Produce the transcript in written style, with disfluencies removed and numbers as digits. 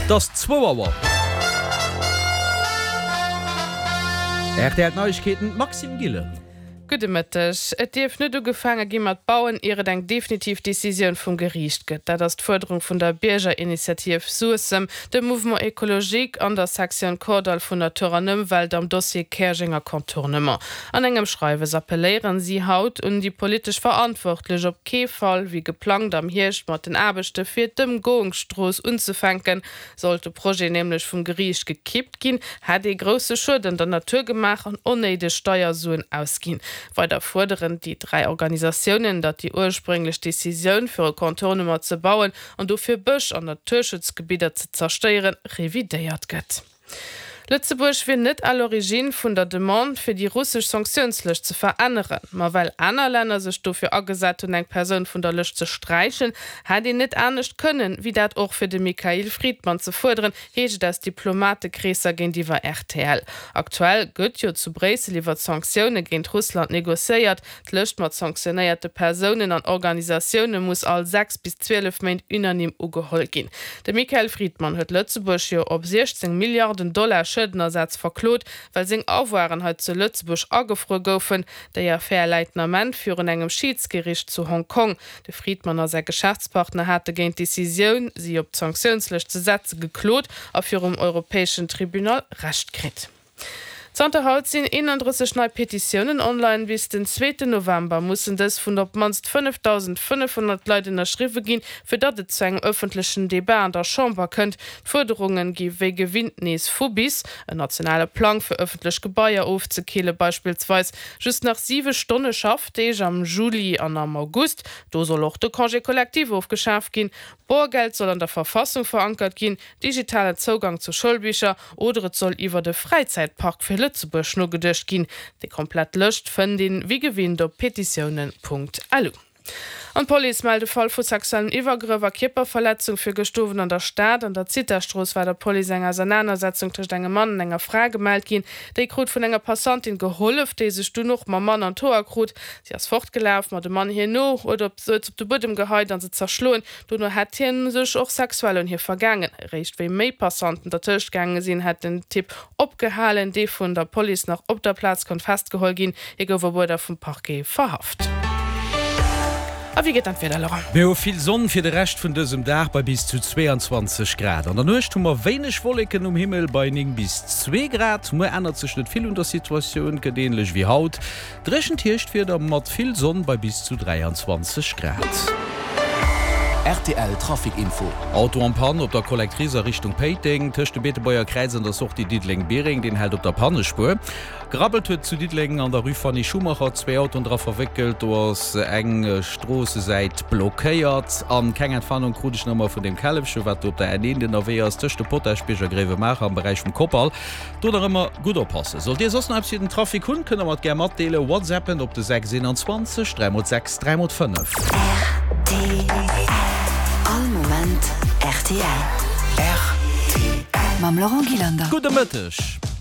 Et ass zwou Auer. Rtl Neiegkeeten, d'Maxime Gillen. Gudde Mëtteg. Et dierf net ugefaange gi mat bauen, ier et eng definitiv Decisioun vum Geriicht gëtt. Dat ass d'Fuerderung vun der Biergerinitiativ Suessem, dem Mouvement Ecologique an der Sektioun Kordall vun Natur an Ëmwelt am Dossier Käerjenger Contournement. An engem Schreiwes appelléieren si haut un déi politesch Verantwortlech, op kee Fall wéi geplangt am Hierscht mat den Aarbechte fir d'Ëmgoungsstrooss unzefänken. Sollt de Projet nämlech vum Geriicht gekippt ginn, hätt ee grousse Schued an der Natur gemaach an onnéideg Steiersuen ausginn. Weider fuerderen déi 3 Organisatiounen, datt déi ursprénglech Decisioun, fir e Contournement ze bauen an dofir Bësch an Naturschutzgebidder ze zerstéieren, revidéiert gëtt. Lëtzebuerg wier net à l'origine vun der Demande, fir déi russesch Sanktiounslëscht ze veränneren. Ma well aner Länner sech dofir agesat hunn, eng Persoun vun der Lëscht ze sträichen, hätt een net anescht kënnen, wéi dat och fir de Mikhail Fridman ze fuerderen, heescht et aus Diplomatekreesser géintiwwer rtl. Aktuell gëtt jo zu Bréissel iwwer Sanktioune géint Russland negociéiert. D'Lëscht mat sanktionéierte Persounen an Organisatioune muss all 6 bis 12 Méint unanime ugeholl ginn. De Michael Fridman huet Lëtzebuerg jo op 16 Milliarden Dollar Schuedenersaz verklot, well seng Avoiren hei zu Lëtzebuerg agefruer goufen. Déi Affär läit den Ament virun engem Schiidsgericht zu Hong Kong. De Fridman a säi Geschäftspartner hate géint d'Decisioun, si op d'Sanktiounslëscht ze setze geklot a virum europäeschen Tribunal Recht kritt. Zanter haut sinn 31 nei Petitiounen online. Bis den zweeten November mussen dës vun op d'mannst 5.500 Leit ënnerschriwwe ginn, fir datt et zu engem ëffentlechen Debat an der Chamber kënnt. D'Fuerderunge gi wéi gewinnt nees vu bis, en nationale Plang fir ëffentlech Gebaier ofzekille beispillsweis, just nach 7 Stonne Schaffdeeg am Juli an am August, do soll och de Congé collectif ofgeschaf ginn, Boergeld soll an der Verfassung verankert ginn, digitalen Zougang zu Schoulbicher oder et soll iwwert e Fräizäitpark fir Lëtzebuerg nogeduecht ginn. Déi komplett Lëscht fënnt een wéi gewinnt op petitiounen.lu. An d'Police mellt e Fall vu sexuellen Iwwergrëff a Kierperverletzung fir gëscht Owend an der Stad. An der Zithastrooss war der Police eng Ausernanersetzung tëscht engem Mann an enger Fra gemellt ginn. Déi krut vun enger Passantin gehollef, déi sech dunn och mam Mann an d'Hoer krut. Si ass fortgelaf, ma de Mann hir no, huet op se op de Buedem geheit an se zerschloen. Dono hätt hien sech och sexuell un hir vergaangen. Eréischt wéi méi Passanten dertëscht gaange sinn, hätt den Typ opgehalen, dee vun der Police nach op der Plaz konnt festgeholl ginn. Hie gouf op Uerder vum Parquet verhaft. A wéi geet dann d'Wieder, Laurent? Mir hu vill Sonn fir de Rescht vun dësem Dag bei bis zu 22 Grad. An der Nuecht hu mer wéineg Wolleken um Himmel bei 9 bis 2 Grad. Muer ännert sech net vill un der Situatioun, gëtt änlech wéi haut. Dréchent Hierschtwieder mat vill Sonn bei bis zu 23 Grad. Rtl Trafic Info. Auto en panne op der Collectrice a Richtung Péiteng, tëscht dem Beetebuerger Kräiz an der Sortie Diddeleng-Biereng. Deen hält op der Pannespuer. Gerabbelt huet zu Diddeleng an der Rue Fanny Schumacher, zwee Autoen dra verwéckelt. Do ass eng Stroossesäit blockéiert. An keng Entwarnung krut ech nach ëmmer vun deem Källefchen, wat do op der N1 ënnerwee ass, tëscht dem Potaschbierg a Gréiwemaacher am Beräich vum Koppal. Do nach ëmmer gutt oppassen. Sollt dir soss nach eppes fir den Trafic hunn, kënnt der mer et gär matdeelen. Whatsappen op de 6 21 3 x 6 3 x 5. Rtl. All Moment rtl. Rtl. Mam Laurent Gillander. Gudde Mëtteg.